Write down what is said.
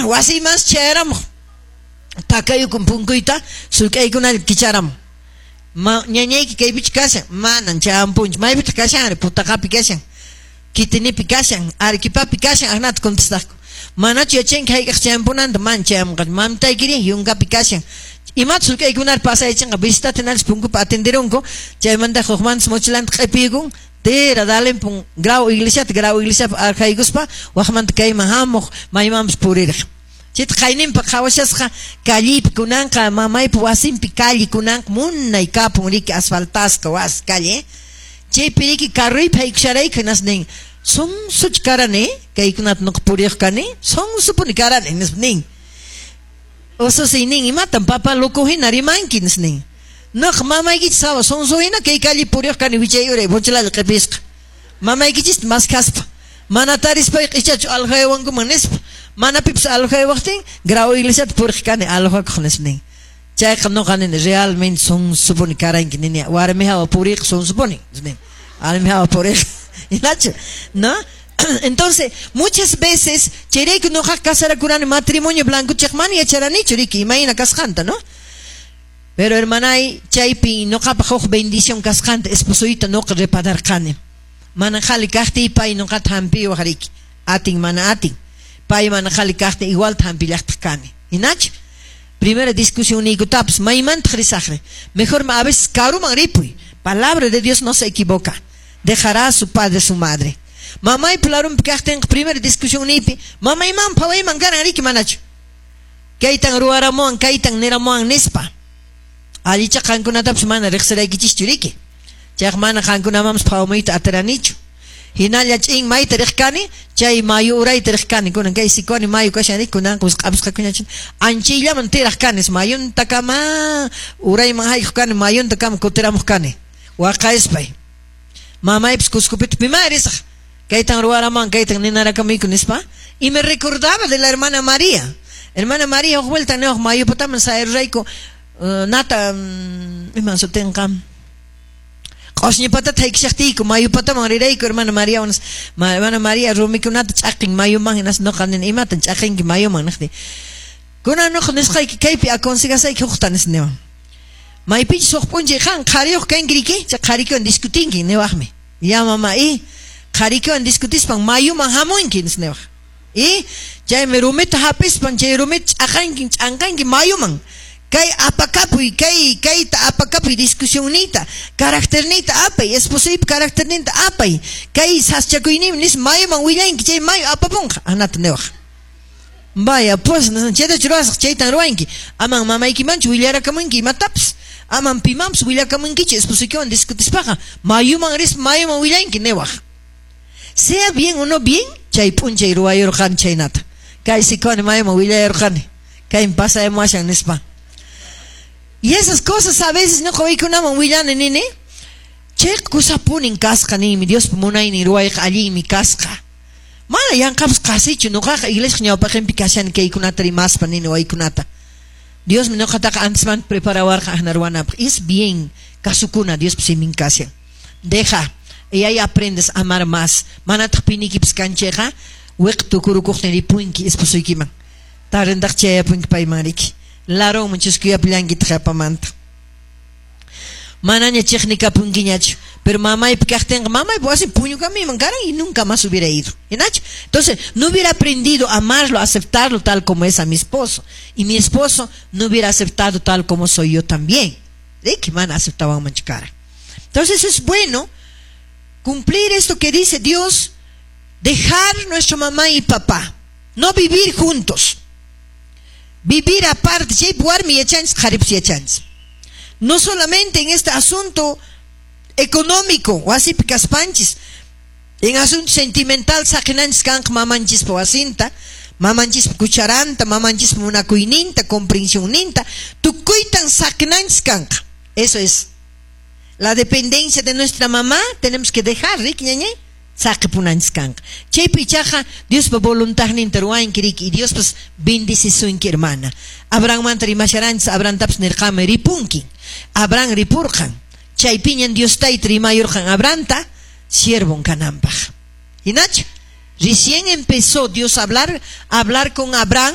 Wasiymansi chayaramuq, takayukun punkuyta, sulk'aykunalla kicharamun. Ma, ñañayki kaypichu kashan? Manan chayampunchu. Maypitaq kashanri? Putaqapi kashan. Kitinipi kashan, Arequipapi kashan, aknata contestaqku. Manachu yachanki hayk'aq chayampunanta? Mana chayamunqachu. Mamitaykiri yunkapi kashan. Imata sulk'aykunari pasayachinqa? Visitata hinallas punkupi atenderunku, chaymanta hukmantas mochilanta q'ipiyukun, tira dalimpun Grau iglesiata, Grau iglesiapi arjaykuspa wakmanta kayman hamuq, maymanpas puririq. Chayta qayninpa qhawashasqa callipi kunanqa mamaypa wasinpi calle kunanqa munay kapun riki asfaltasqa wasi calle. Chaypi riki carroypi haykusharayku hinas nin, sonsochu karani kaykunata nuqa puriq kani, sonsopuni karani nispa nin. Ususiy nin, imatan papá loco hina rimanki nispa nin. Nuqa mamaykichis hawa sonso hina kay calle puriq kani wichay uray mochilalla q'ipisqa. Mamaykichista maskhaspa. Mana tarispayqa ichachu alhayawankuman nispa. Mana pipas alhayawaqtin Grau iglesiata puriq kani alhakuq nispa nin. Chayqa nuqa nini realmente sonsopuni karanki nini warmi hawa puriq sonsopuni nin. Warmi hawa puriq. Hinachu? ¿No? Entonces, muchas veces chayrayku nuqa casarakurani matrimonio blanco chayqa mana yacharanichu riki imayna kasqanta, ¿no? Pero hermanay, chaypi nuqapaq huk bendición kasqanta esposoyta nuqa repararqani. Mana qhali kaqtiy pay nuqata hampiwaq riki. Atin mana atin. Pay mana qhali kaqtin igualta hampillaqtaq kani. Hinachu? Primera discusión niykutapas maymantaq risaqri. Mejor a veces karuman ripuy. Palabra de Dios no se equivoca. Dejará a su padre, su madre. Mamaypa larunpi kaqtinqa primera discusión niypi mamayman phawayman karan riki manachu. Kaytan ruwaramuwan, kaytan niramuwan nispa. Allicha qankunatapas mana riqsiraykichischu riki. Chayqa mana qankunamanpas phawamuyta atiranichu. Hinalla ch'in mayta riq kani, chay mayu urayta riq kani. Kunan kay Sicuani mayu kashan riki, kunanqa wisq'apusqakuña. Anchayllaman tiraq kani, mayuntakama urayman haykuq kani, mayuntakama kutiramuq kani. Waqaspay. Mamaypas Cuscopita piman risaq. Kaytan ruwaramuwan, kaytan ninarakamuyku nispa. Y me recordaba de la hermana María. Hermana María huk vuelta niwaq mayupataman sayarurayku nata iman sutinqa q'osñipatata haykishaqtiyku mayupataman rirayku hermana María, hermana María rumikunata ch'aqin mayuman hinas nuqa nini imatan ch'aqinki mayuman niqti. Kunan nuqa nisqayki kaypi aconsegasayki hukta nis niwan. Maypichus huk p'unchay qan qhariyuq kanki riki, chay qhariykiwan discutinki niwaqmi. Ya mamá, y qhariykiwan discutispan mayuman hamunki nis niwaq. Y chaymi rumita hapispan chay rumita ch'aqanki ch'anqanki mayuman. Kay apakapuy, kay kayta apakapuy discusionniyta, caracterniyta apay, esposoypa caracterninta apay. Kay saschakuyninmi nis mayuman willanki chay mayu apapunqa, anata niwaq. Vaya, pues, chaytachu ruwasaq, chaytan ruwanki. Aman mamaykimanchu willarakamunki imatapas. Aman pimanpas willakamunkichu esposoykiwan discutispaqa. Mayuman rispa mayuman willanki niwaq. Sea bien o no bien, chay p'unchay ruwayurqani chaynata. Kay Sicuani mayuman willayurqani. Kaymi pasayamuwashan nispa. Y esas cosas a veces ñuqa waykunaman willani nini. Chay kusapunin kasqa ninmi, Diospa munaynin ruwayqa allinmi kasqa. Mana yanqapas qasichu ñuqaqa iglesia ñawpaqinpi kashani kaykunata rimaspa nini waykunata. Diosmi ñuqataqa antesmanta preparawarqa akna ruwanapaq. Es bien kasukuna Diospa simin kashan. Deja, y ahí aprendes a amar más. Manataq pinikipas kanchayqa wiq tukurukuqtin ripunki esposoykiman. Tarindaq chayapunki payman riki. Larunman chuskuyapillankitaq yapamanta. Manaña chiqnikapunkiñachu. Pero mamaypa kaqtinqa mamaypa wasin puñukamiman karan y nunca más hubiera ido. ¿Hinachu? Entonces, no hubiera aprendido a amarlo, a aceptarlo tal como es a mi esposo. Y mi esposo no hubiera aceptado tal como soy yo también. ¿De qué mana aceptaban cara? Entonces es bueno cumplir esto que dice Dios, dejar nuestra mamá y papá, no vivir juntos. Vivir aparte, no solamente en este asunto económico, wasipi kaspanchis, en asunto sentimental saqinanchis kanqa mamanchispa wasinta, mamanchispa cucharanta, mamanchispa munakuyninta, comprensiónninta, tukuytan saqinanchis kanqa. Eso es. La dependencia de nuestra mamá tenemos que dejar, riki ñañay? Saqipunanchis kanqa. Chaypi ichaqa Diospa voluntadninta ruwanki riki y Diospas bendecisunki hermana. Abrahammanta rimasharanchis, Abrahamtapas nirqanmi ripunki. Abraham ripurqan. Chaypiñan Dios tayta rimayurqan Abrahamta siervon kananpaq. Hinachu? Recién empezó Dios a hablar con Abraham.